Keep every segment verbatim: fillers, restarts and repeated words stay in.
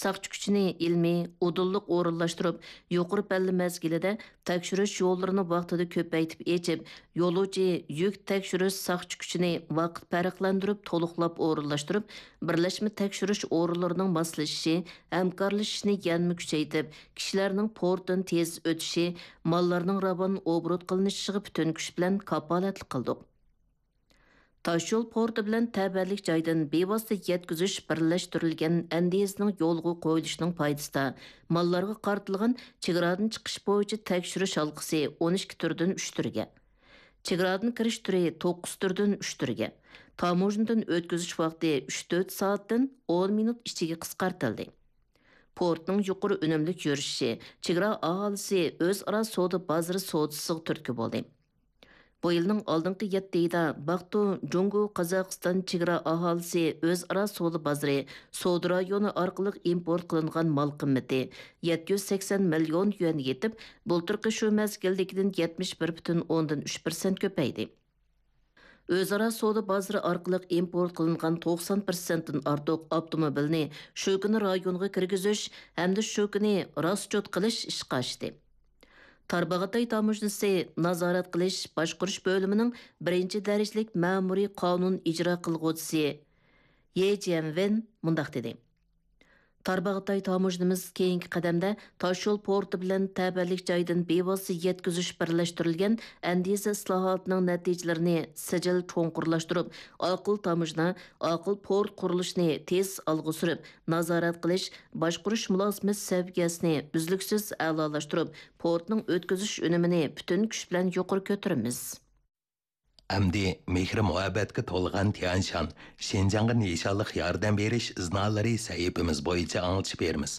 ساقچى كۈچىنى ئىلمىي، ئۇدۇللۇق ئورۇنلاشتۇرۇپ، يۇقىرى پەللە مەزگىلىدە تەكشۈرۈش يوللىرىنى ۋاقتىدا كۆپەيتىپ ئېچىپ، يولۇچى يۈك تەكشۈرۈش ساقچى كۈچىنى ۋاقىت پەرقلەندۈرۈپ، تولۇقلاپ ئورۇنلاشتۇرۇپ، بىرلەشمە تەكشۈرۈش ئورۇنلىرىنىڭ ماسلىشىشى، ھەمكارلىشىشىنى يەنىمۇ كۈچەيتىپ، كىشىلەرنىڭ پورتتىن تېز ئۆتۈشى، ماللارنىڭ راۋان ئوبوروت قىلىنىشىغا پۈتۈن كۈچ بىلەن كاپالەتلىك قىلدۇق. تاشيول پورتى بىلەن تەۋەلىك جايدىن بىۋاسىتە يەتكۈزۈش بىرلەشتۈرۈلگەن ئەندىزىنىڭ يولغا قويۇلۇشىنىڭ پايدىسىدا، ماللارغا قارىتىلغان چېگرادىن چىقىش بويىچە تەكشۈرۈش ھالقىسى ئون ئىككى تۈردىن ئۈچ تۈرگە، چېگرادىن كىرىش تۈرى توققۇز تۈردىن ئۈچ تۈرگە، تاموژنىدىن ئۆتكۈزۈش ۋاقتى ئۈچ تۆت سائەتتىن ئون مىنۇت ئىچىگە قىسقارتىلدى. پورتنىڭ يۇقىرى ئۈنۈملۈك يۈرۈشۈشى، چېگرا ئاھالىسى ئۆزئارا سودا بازىرى سودىسىغا تۈرتكە بولدى. بۇ يىلنىڭ ئالدىنقى يەتتە ئېيىدا باقتۇ جۇڭگو قازاقىستان چېگرا ئاھالىسى ئۆزئارا سودا بازىرى سودا رايونى ئارقىلىق ئىمپورت قىلىنغان مال قىممىتى يەتتە يۈز سەكسەن مىليون يۈەنگە يېتىپ، بۇلتۇرقى شۇ مەزگىلدىكىدىن يەتمىش بىر پۈتۈن ئوندىن ئۈچ پىرسەنت كۆپەيدى. ئۆزئارا سودا بازىرى ئارقىلىق ئىمپورت قىلىنغان توقسان پىرسەنتتىن ئارتۇق ئاپتوموبىلنى شۇ كۈنى رايونغا كىرگۈزۈش ھەمدە شۇ كۈنى راسچوت قىلىش ئىشقا ئاشتى. تارباغاتاي تاموژنىسى نازارەت قىلىش باشقۇرۇش بۆلۈمىنىڭ بىرىنچى دەرىجىلىك مەمۇرىي قانۇن ئىجرا قىلغۇچىسى يې جيەنۋېن مۇنداق دېدى: تارباغاتاي تاموژنىمىز كېيىنكى قەدەمدە تاشيول پورتى بىلەن تەۋەلىك جايدىن بىۋاسىتە يەتكۈزۈش بىرلەشتۈرۈلگەن ئەندىزە ئىسلاھاتىنىڭ نەتىجىلىرىنى سىجىل چوڭقۇرلاشتۇرۇپ، ئاقىل تاموژنا، ئاقىل پورت قۇرۇلۇشىنى تېز ئالغا سۈرۈپ، نازارەت قىلىش، باشقۇرۇش مۇلازىمەت سەۋىيەسىنى ئۈزلۈكسىز ئەلالاشتۇرۇپ، پورتنىڭ ئۆتكۈزۈش ئۈنۈمىنى پۈتۈن كۈچ بىلەن يۇقىرى كۆتۈرىمىز. ئەمدى مېھرى-مۇھەببەتكە تولغان تيەنشان، شىنجاڭغا نىشانلىق ياردەم بېرىش ئىزنالىرى سەھىپىمىز بويىچە ئاڭلىتىش بېرىمىز.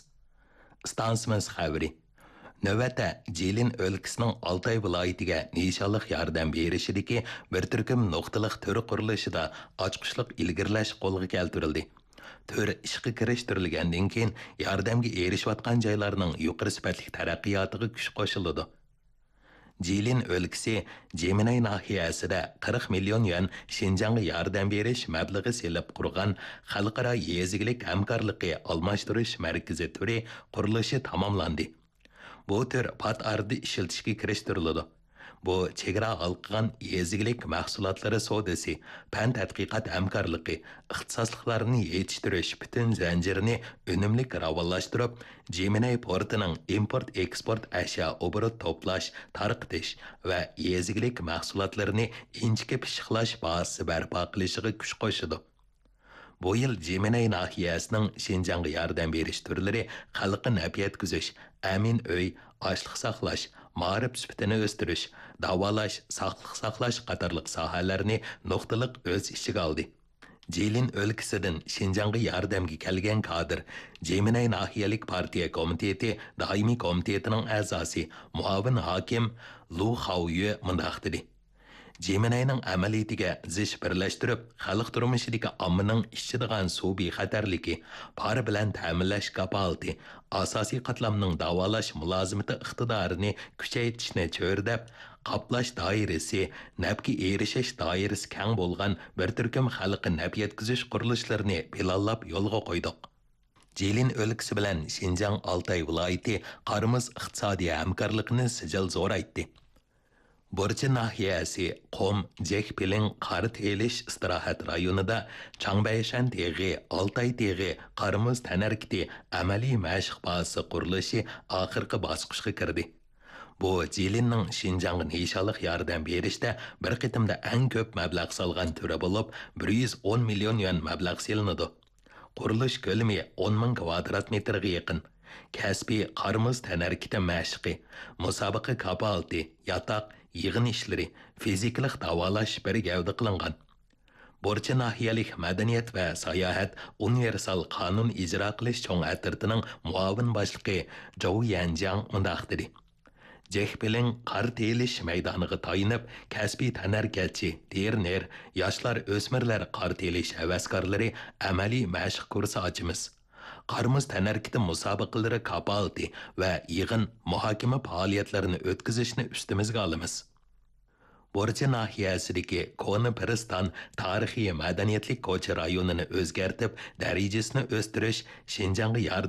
ئىستانسىمىز خەۋىرى. نۆۋەتتە، جىلىن ئۆلكىسىنىڭ ئالتاي ۋىلايىتىگە نىشانلىق ياردەم بېرىشىدىكى بىر تۈركۈم نۇقتىلىق تۈر قۇرۇلۇشىدا ئاچقۇچلۇق ئىلگىرىلەش قولغا كەلتۈرۈلدى. تۈر ئىشقا كىرىشتۈرۈلگەندىن كېيىن، ياردەمگە ئېرىشىۋاتقان جايلارنىڭ يۇقىرى سۈپەتلىك تەرەققىياتىغا كۈچ قوشۇلىدۇ. جىلىن ئۆلكىسى جىمىنەي ناھىيەسىدە قىرىق مىليون يۈەن شىنجاڭغا ياردەم بېرىش مەبلىغى سېلىپ قۇرغان خەلقئارا يېزا ئىگىلىك ھەمكارلىقى ئالماشتۇرۇش مەركىزى تۈرى قۇرۇلۇشى تاماملاندى. بۇ تۈر پات ئارىدا ئىشلىتىشكە كىرىشتۈرۈلىدۇ. بۇ چېگرا ھالقىغان يېزا ئىگىلىك مەھسۇلاتلىرى سودىسى، پەن تەتقىقات ھەمكارلىقى، ئىختىساسلىقلارنى يېتىشتۈرۈش پۈتۈن زەنجىرىنى ئۈنۈملۈك راۋانلاشتۇرۇپ، جىمىنەي پورتىنىڭ ئىمپورت ئېكسپورت ئەشيا ئوبوروت توپلاش، تارقىتىش ۋە يېزا ئىگىلىك مەھسۇلاتلىرىنى ئىنچىكە پىششىقلاش بازىسى بەرپا قىلىشىغا كۈچ قوشىدۇ. بۇ يىل جىمىنەي ناھىيەسىنىڭ شىنجاڭغا ياردەم بېرىش تۈرلىرى خەلققە نەپ يەتكۈزۈش، ئەمىن ئۆي، ئاشلىق ساقلاش، مائارىپ سۈپىتىنى ئۆستۈرۈش، داۋالاش، ساقلىق ساقلاش قاتارلىق ساھەلەرنى نۇقتىلىق ئۆز ئىچىگە ئالدى. جىلىن ئۆلكىسىدىن شىنجاڭغا ياردەمگە كەلگەن كادىر، جىمىنەي ناھىيەلىك پارتىيە كومىتېتى دائىمىي كومىتېتىنىڭ ئەزاسى، مۇئاۋىن ھاكىم لۇ خاۋيۈ مۇنداق دېدى: جىمىنەينىڭ ئەمەلىيىتىگە زىچ بىرلەشتۈرۈپ، خەلق تۇرمۇشىدىكى ئاممىنىڭ ئىچىدىغان سۇ بىخەتەرلىكى، پار بىلەن تەمىنلەش كاپالىتى، ئاساسىي قاتلامنىڭ داۋالاش مۇلازىمىتى ئىقتىدارىنى كۈچەيتىشنى چۆرىدەپ، قاپلاش دائىرىسى، نەپكە ئېرىشىش دائىرىسى كەڭ بولغان بىر تۈركۈم خەلققە نەپ يەتكۈزۈش قۇرۇلۇشلىرىنى پىلانلاپ يولغا قويدۇق. جىلىن ئۆلكىسى بىلەن شىنجاڭ ئالتاي ۋىلايىتى قارىمۇز ئىقتىسادىي ھەمكارلىقىنى سىجىل زورايتتى. بۇرچى ناھىيەسى قۇم جېكپىلىڭ قار تېيىلىش ئىستىراھەت رايونىدا چاڭبەيشەن تېغى، ئالتاي تېغى قارىمۇز تەنھەرىكىتى ئەمەلىي مەشىق بازىسى قۇرۇلۇشى ئاخىرقى باسقۇچقا كىردى. بۇ جىلىننىڭ شىنجاڭغا نىشانلىق ياردەم بېرىشتە بىر قېتىمدا ئەڭ كۆپ مەبلەغ سالغان تۈرى بولۇپ، بىر يۈز ئون مىليون يۈەن مەبلەغ سېلىنىدۇ. قۇرۇلۇش كۆلىمى ئون مىڭ كىۋادرات مېتىرغا يېقىن. كەسپىي قارىمۇز تەنھەرىكىتى مەشىقى، مۇسابىقە كاپالىتى، ياتاق، يىغىن ئىشلىرى، فىزىكىلىق داۋالاش بىر گەۋدە قىلىنغان. بۇرچى ناھىيەلىك مەدەنىيەت ۋە ساياھەت ئۇنىۋېرسال قانۇن ئىجرا قىلىش چوڭ ئەترىتىنىڭ مۇئاۋىن باشلىقى جوۋ يەنجياڭ مۇنداق دېدى: جېخبىلىڭ قار تېيىلىش مەيدانىغا تايىنىپ، كەسپىي تەنھەرىكەتچى، تىرېنېر، ياشلار، ئۆسمۈرلەر قار تېيىلىش ھەۋەسكارلىرى ئەمەلىي مەشىق كۇرسى ئاچىمىز. قارىمۇز تەنھەرىكىتى مۇسابىقىلىرى كاپالىتى ۋە يىغىن، مۇھاكىمە پائالىيەتلىرىنى ئۆتكۈزۈشنى ئۈستىمىزگە ئالىمىز. بۇرچى ناھىيەسىدىكى كونا پىرىستان تارىخىي مەدەنىيەتلىك كوچا رايونىنى ئۆزگەرتىپ، دەرىجىسىنى ئۆستۈرۈش شىنجاڭغا ياردەم